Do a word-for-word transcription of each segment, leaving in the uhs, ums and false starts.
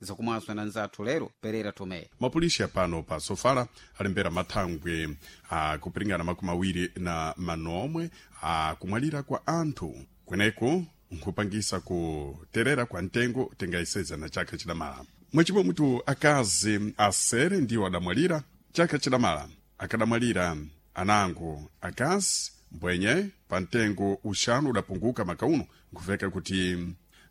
Zakumwazwa na nzathu lero Perera Tomé. Mapolisi apano pa Sofala alembera mathangwe akupiringana makumi awiri na manomwe akumwalira kwa anthu kweneku nkhupangisa kuterera kwa mtengo tingayiseza na chaka chidamala. Mwechimwe mutu akazi asere ndiwo adamwalira chaka chidamala, akadamwalira anango akazi mbwenye pa mtengo uxanu udapunguka makauno, nkuveka kuti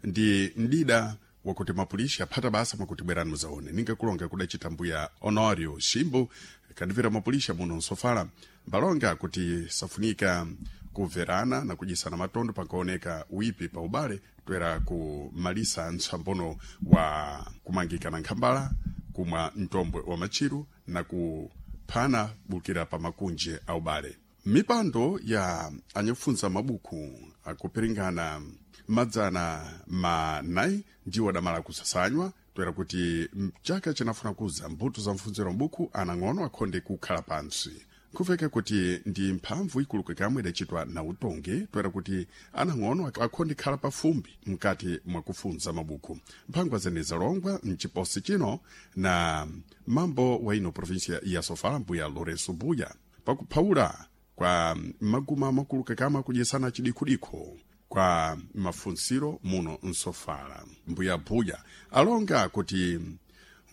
ndi mdida wakuti mapulishi aphata basa mwakuti bwerani muzaone. Ninga kulonga kudacita mbuya Honorio Shimbu kadivira mapulisha muno nsofala mbalonga kuti safunika kumverana na kudyisana matondo pankaoneka uipi pa ubale toera kumalisa ntsambono wa kumangika na nkhambala, kumwa mtombwe wa matchiru na kuphana bukira pa makunje a ubale. Mipando ya anyakufunza mabuku akupiringana madzana manayi ndiwo adamala kusasanywa toera kuti mchaka chinafuna kuza mbuto za mfunziro mbuku anang'ono akhonde kukhala pantsi. Nkuveka kuti ndi mphamvu ikuluka kamwe idacitwa na utongi toera kuti anang'ono akhonde khala pafumbi mkati mwakufunza mabuku. Mphangwa zene zalongwa mchiposi chino na mambo wa ino provinsia ya Sofala, mbuya Lourenço Buya, pakuphawula kwa maguma makuluka kamwe akudyesana chidikhudikho kwa mafunsiro muno nsofala. Mbuya Buya alonga kuti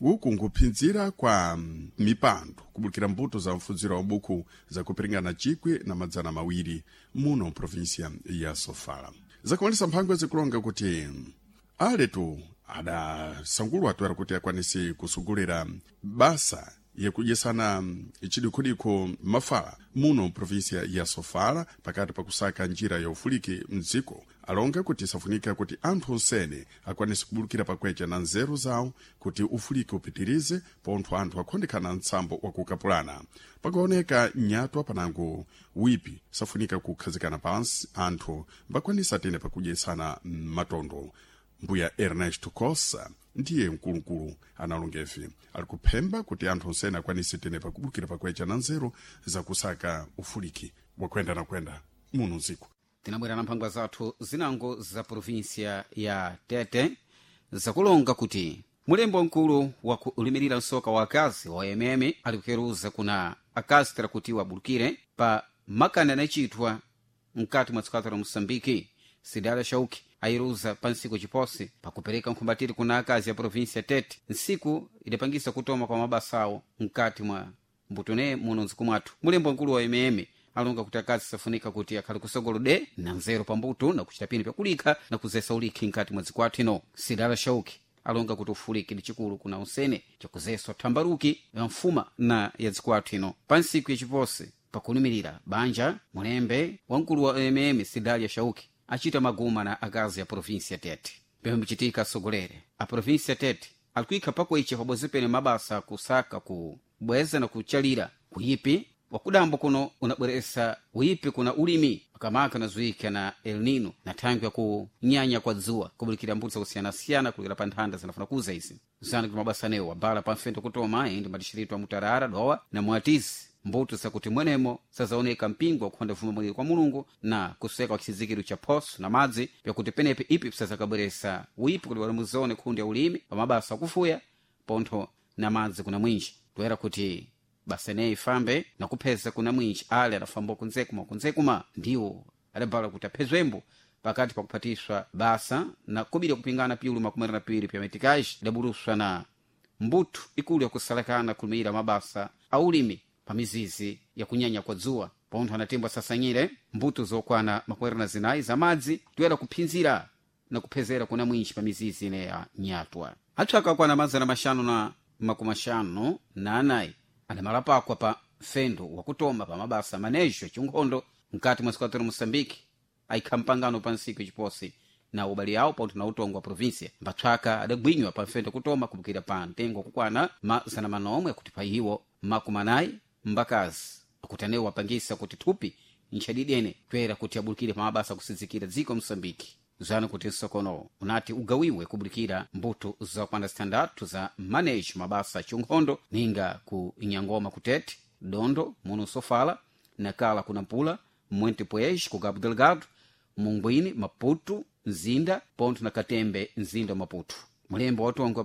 uku nkuphinzira kwa mipando kubukira mbuto za mfunziro wa buku zakupiringana chikwi na madzana mawiri muno mprovinsia ya Sofala. Zakumalisa mphangwa zikulonga kuti aletu adasangulwa toera kuti akwanise kusugulira basa yakudyesana chidikhudikho mafala muno mprovinsia ya Sofala pakati pakusaka njira ya ufuliki mdziko. Alonga kuti safunika kuti anthu onsene akwanise kubulukira pakwecha na nzeru zawo kuti ufuliki upitirize pontho anthu akhondekana mtsambo wakukapulana. Pakaoneka nyatwa panango wipi safunika kukhazikana pansi anthu mbakwanisa tene pakudyesana matondo. Mbuya Ernesto Cossa ndiye mkulukulu analongevi ali kuphemba kuti anthu onsene akwanise tene pakubukira pakwecha na nzeru zakusaka ufuliki wakwenda na kwenda muno mdziko. Tinabwera na mphangwa zathu zinango za provinsia ya Tete zakulonga kuti mulembo mkulu wakulimirira msoka wa akazi wa M M ali kukeruza kuna akazi tera kuti wabulukire pa makani anachitwa mkati mwa tsikata la Moçambike. Sidala Shauki ayiruza pa nsiku chiposi pakupereka nkhumbatiri kuna akazi ya provinsia Tete, nsiku idapangisa kutoma kwa mabasa awo mkati mwa mbutune muno mdziko mwathu. Mulembo mkulu wa M M alonga kuti akazi safunika kuti akhale kusogolo de na nzeru pambuto na kuchita pini pyakulikha na kuzesa ulikhi mkati mwa dziko athu ino. Sidala Shauki alonga kuti ufuliki ndi chikulu kuna usene chakuzeswa thambaruki ya mfuma na ya dziko athu ino. Pa nsiku yachiposi pakulumirira banja, mulembe wamkulu wa M M Sidalia Shauki achita maguma na akazi ya provinsia Tete. Pemwe mchitika asogolere a provinsia Tete alikuikha pakuicha pabodzi pene mabasa kusaka kubweza na kuchalira kuyipi wakudambo kuno unabweresa uyipi kuna ulimi makamaka unazuika na El Nino na thangwi ya kunyanya kwa dzuwa kubulikira mbuto zakusiyanasiyana kulikira pa nthanda zinafuna kuza izi zana kuti mabasa anewo wabala pamfento kutoma indi madishirito a Mutarara, Dowa na Mwatisi, mbuto zakuti mwenemo sazaoneka mpingo wakukhonda vuma mwiri kwa Mulungu na kuseka kwa chizikiro cha phoso na madzi pyakuti penepe ipi pisazakabweresa uyipi kuti walimuzone khundi ya ulimi pa mabasa akufuya pontho na madzi kuna mwinji toera kuti basa ineyi ifambe nakupheza kuna mwinji ale adafamba kunzekuma kunzekuma ndiwo adabala kuti aphezwembo pakati pakuphatiswa basa na kubiri kupingana piulu makumi na piwiri pya metikaji idabuluswa na mbuthu ikulu yakusalakana kulumira mabasa a ulimi pa mizizi yakunyanya kwa dzuwa pontho anatimbwa sasanyire mbuto zokwana makumi na zinayi za madzi toyera kuphinzira na kuphezera kuna mwinji pa mizizi ine ya nyatwa. Athu akakwana mazana maxanu na makumi axanu na anayi adamalapakwa pa mfendo wakutoma pa mabasa manejo achinkhondo mkati mwa sikwatero Moçambike ayikha mpangano pa nsiku yachiposi na ubale awo pontho na utongo wa provinsia. Mbatswaka adagwinywa pa mfendo kutoma kubukira pa mtengo wakukwana mazana manomwe akuti pa iwo makumi anayi mbakazi akuti anewo wapangisa kuti thupi ntchadidene toyera kuti abulukire pa mabasa akusidzikira dziko Moçambike. Zana kuti msokono unati ugawiwe kubulikira mbuto zakwana zitandatu za manejo mabasa achinkhondo ninga ku Inyangoma kutete, Dondo muno Sofala, Nakala kuna Mpula, Monte Poez ku Cabo Delgado, Munguini Maputo, Nzinda pontho na Katembe mzinda wa Maputo. Mulembo wa utongo wa